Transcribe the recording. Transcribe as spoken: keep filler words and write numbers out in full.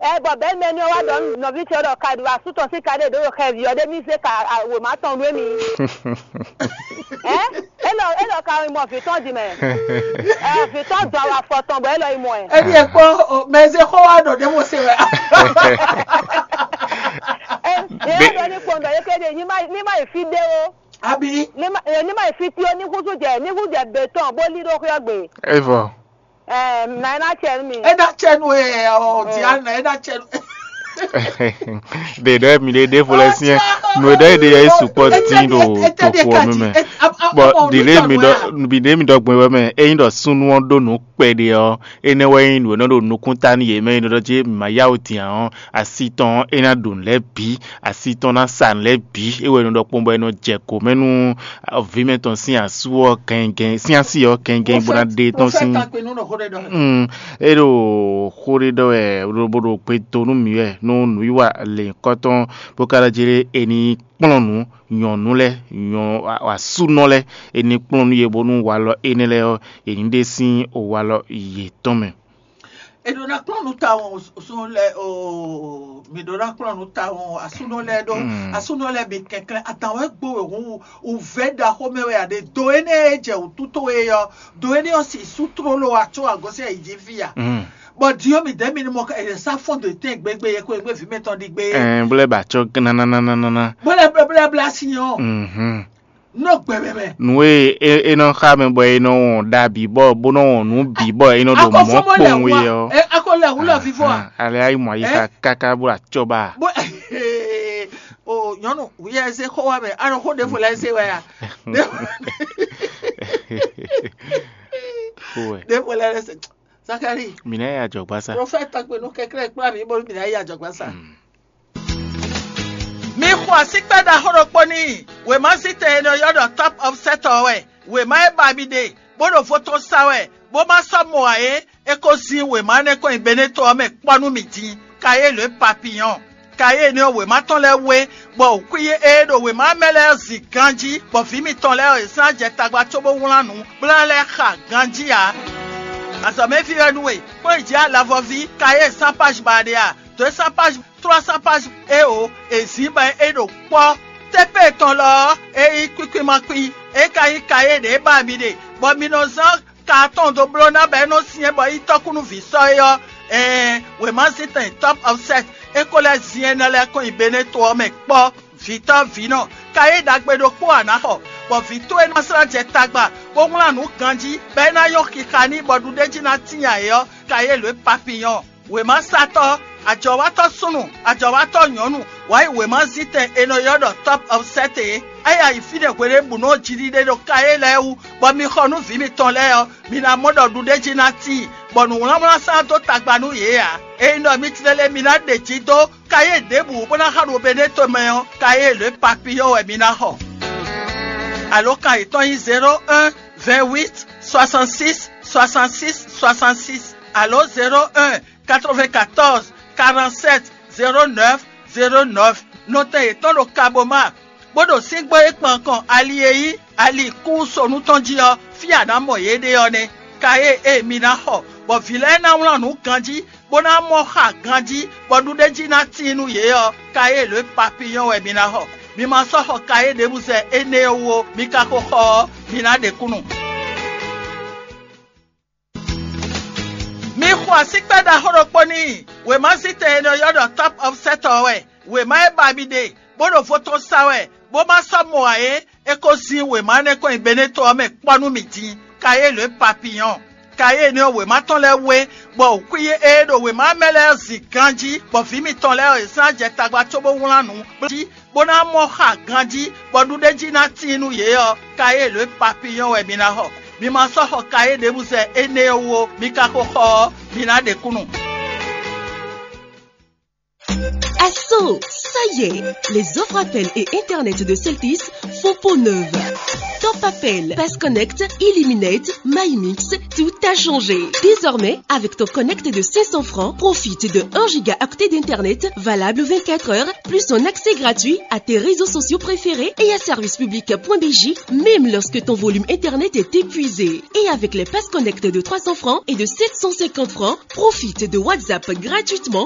Ɛ bɔ bɛ̌ mɛ ní ɔ́ wá ɖɔ nú nɔví ce ɔ́ ɖɔ ka ɖu asú tɔn sín ka ɖé ɖǒ ɖo xɛví ɔ́ ɖé ní zé ka wěma tɔn nú émí. Ɛ élɔ́ élɔ́ ka nyí mɔ vǐ tɔn din mɛ. Ɛ vǐ tɔn dɔn awa afɔ tɔn bɔ élɔ́ yi mɔ ɛ. Eɖi ekpɔ mɛ e zé xó wá ɖɔ ɖěvo se wɛ. Ɛ yɛ ɖɔ ní kpɔn ɖɔ yé ké ɖe ní má ní má yi fí ɖé ó. Abi. Ní má ní má yi fí tí ó ní húzú jɛ ní húzú jɛ bětɔn bó lí ɖó xwé ɔ́ gbe. Evɔ. Ɛ nà é ná cɛ nú mi. E ná cɛ nú e ɔ Diana, e ná cɛ nú. Ɖe ɖɔ mi ɖe ɖe vo lɛ siɛ nu e ɖɔ e ɖe yɛ sukpɔ dín ɖo toxo ɔ́ mɛ. Bɔn ɖiɖe mi ɖɔ mi ɖe mi ɖɔ gbɔn wɛ mɛ eyin ɖɔ súnnu ɔ́ ɖó nǔ kpɛɖe ɔ́, énɛ́ wɛ nyí nǔ e nɔ ɖo nukún ta nú yě mɛ e nɔ ɖɔ jí ma yá wǔ din ǎ ɔ́, asi tɔn ɔ́ é ná ɖo nǔ lɛ́ɛ bǐ, asi tɔn ná sa nǔ lɛ́ɛ bǐ. É wɛ nɔ ɖɔ kpɔ́n bɔ è nɔ jɛ kǒ mɛ nú vǐ mɛtɔn sín asú ɔ́ gɛngɛn sín así ɔ́ gɛngɛn bó ná ɖe tɔn sín. Mm, é ɖo xó ɖé ɖɔ wɛ lobo ɖo gbe do nú mǐ wɛ nú nǔwiwa lěnyǐkɔ tɔn bó ka ɖɔ jí ɖé è ní kplɔ́n nǔ nyɔ̌nu lɛ́ɛ nyɔ̌ asúnɔ lɛ́ɛ è ní kplɔ́n nú yě bónú walɔ énɛ́ lɛ́ɛ ɔ́ è ní ɖe sín walɔ yětɔn mɛ. È ɖǒ ná kplɔ́n nú tawun súnnu lɛ́ɛ oo, mǐ ɖǒ ná kplɔ́n nú tawun asúnɔ lɛ́ɛ ɖó asúnɔ lɛ́ɛ bǐ kɛnklɛ́n atan wɛ gbo wěhún wǔvɛ́ ɖaxó mɛ wɛ a ɖe do énɛ́ e jɛ wǔtu towe ɔ́, do énɛ́ ɔ́ si sú tlóló wá có agɔ̌sɛ yi jí fí a? Bɔ din ɔ́ mǐdɛɛ mi ní mɔ ká è sá fɔ́n dó tɛ́n gbégbé yɛ kó e gbé vǐ mɛtɔn ɖi gbé. Ɛn bó lɛ́ ba cɔ́ gánananana. Bó lɛ́ bla bla sin ɔ́. Mhm. Nɔ gbɛmɛ mɛ. Nǔ e é nɔ xa mɛ bɔ é nɔ wɔn ɖa bǐ bɔ bó nɔ wɔn nǔ bǐ bɔ é nɔ ɖo mɔ̌ kpowun é ɔ́. Ɛ akɔ lɛ wúlɔ fífɔ a. Ale ayi mɔ ayi xa káká bó acɔba. Bó o nyɔnu wíyá ɛ se xɔ wa mɛ anɔ xɔ ɖe fo lɛ se wɛ ya. Ɖe fo lɛ se. Zakari. Mina ya jɔ gbasa. Prɔfɛt tɔgbe nú kɛklɛ kplá mi bónú mina ya jɔ gbasa. Mi xɔ asíkpá ɖaxó ɖokpó n'i. Wěma zítɛn e nɔ ylɔ́ ɖɔ Top Offset ɔ́ wɛ. Wěma e ba mi ɖe, bó ɖo vo tɔn sa wɛ, bó ma sɔ́ mɔ ǎ é, é ko zín wěma énɛ́ kɔn nyi Beneto ɔ́ mɛ kpɔ́ nú mì din. Kayélu e papiyɔ́n. Kayélu ɔ́ wěma tɔn lɛ́ɛ wé, bɔ wǔkwíyí e ɖo wěma mɛ lɛ́ɛ zin ganjí, bɔ vǐ mitɔn lɛ́ɛ e zán jɛ tagba cóbó wlán nǔ, bó ná lɛ́ xa ganjí ǎ. Azɔ̌mɛví wɛ nú we, kpɔ́n yi jǐ alavɔví, Kayélu sán páj ba ɖe a? Dǒ e sán páj trois cents pages eo è zǐn bɔ é ɖo kpɔ́. Tépée tɔn lɔ ɔ́, é nyí kwíkwímákwí; é ka nyí kayé ɖě ba mi ɖe, bɔ mi nɔ zán ka atɔn dó bló ná bɔ é nɔ́ syɛ́n bɔ é nyí tɔ́kúnúví sɔ́ é ɔ́. Ɛɛn, wěmazíntɛn Top Offset é ko lɛ́ zin énɛ́ lɛ́ɛ kɔn nyi Beneto ɔ́ mɛ kpɔ́. Vǐtɔ́ vǐnɔ, kayé ɖagbe ɖokpó a nǎ xɔ, bɔ vǐ towe ná slá jɛ tagba, bó wlán nǔ ganjí, bɔ é ná nyɔ́ xixa n'i bɔ ɖuɖéjí ná tíin ayǐ ɔ́, kayé lǒ e papiyɔ́n. Wěmasatɔ́, ajɔ̌watɔ́ súnnu, ajɔ̌watɔ́ nyɔ̌nu, wǎ yi wěmazíntɛn è nɔ ylɔ́ ɖɔ Top Offset é. É yi ayǐ fí ɖé hweɖěbǔnu ɔ́ jiɖiɖe ɖo kayé lɛ́ɛ wú, bɔ mi xɔ nú vǐ mitɔn lɛ́ɛ ɔ́, mi ná mɔ ɖɔ ɖuɖéjí ná tíin, bɔ nǔwlánwlán sán dó tagba nú yě ǎ. Ényí ɖɔ mi tlɛ lɛ́ɛ mi ná ɖe jǐ dó kayé ɖěbǔ bó ná xa ɖo Beneto mɛ ɔ́, kayé lě papiyɔ́ wɛ mi ná xɔ. Alǒkan yětɔn nyí zéro un, vingt huit, soixante six, soixante six, soixante six, alo zéro un, quatre vingt quatorze, quarante sept, zéro neuf, zéro neuf. Nɔtɛn yětɔn ɖo Kaboma, bó ɖo síngbó e kpan kɔn ali e nyí ali kúsonu tɔn jí ɔ́, fí a nǎ mɔ yě ɖe ɔ́ nɛ́. Kayé e mi ná xɔ, bɔ vǐ lɛ́ɛ ná wlán nǔ ganjí, bó ná mɔ xa ganjí, bɔ ɖuɖéjí ná tíin nú yě ɔ́, kayé lě papiyɔ́n wɛ mi ná xɔ. Mi ma sɔ́ xɔ kayé ɖěbǔ zɛ énɛ́ ɔ́ wú ó; mi ka ko xɔ ɔ́, mi ná ɖe kúnnu. Mi xɔ asíkpá ɖaxó ɖokpó n'i. Wěmazíntɛn e nɔ ylɔ́ ɖɔ Top Offset ɔ́ wɛ. Wěma e ba mi ɖe, bó ɖo vo tɔn sa wɛ, bó ma sɔ́ mɔ ǎ é, é ko zín wěma énɛ́ kɔn nyi Beneto ɔ́ mɛ kpɔ́ nú mì din. Kayé lě papiyɔ́n. Kayé énɛ́ ɔ́ wěma tɔn lɛ́ɛ wé, bɔ wǔkwíyí e ɖo wěma mɛ lɛ́ɛ zin ganjí, bɔ vǐ mitɔn lɛ́ɛ e zán jɛ tagba cóbó wlán nǔ jí, bó ná mɔ xa ganjí, bɔ ɖuɖéjí ná tíin nú yě ɔ́, kayé lě papiyɔ́n wɛ mi ná xɔ. Mi ma sɔ́ xɔ kayé ɖěbǔ zɛ énɛ́ ɔ́ wú ó; mi ka ko xɔ ɔ́, mi ná ɖe kúnnu. Asso, ça y est, les offres appel et internet de Celtis font peau neuve. Top appel, pass connect, illuminate, MyMix, tout a changé. Désormais, avec ton connect de cinq cents francs, profite de un gigaoctet d'internet valable vingt-quatre heures, plus un accès gratuit à tes réseaux sociaux préférés et à service public point B J, même lorsque ton volume internet est épuisé. Et avec les pass connect de trois cents francs et de sept cent cinquante francs, profite de WhatsApp gratuitement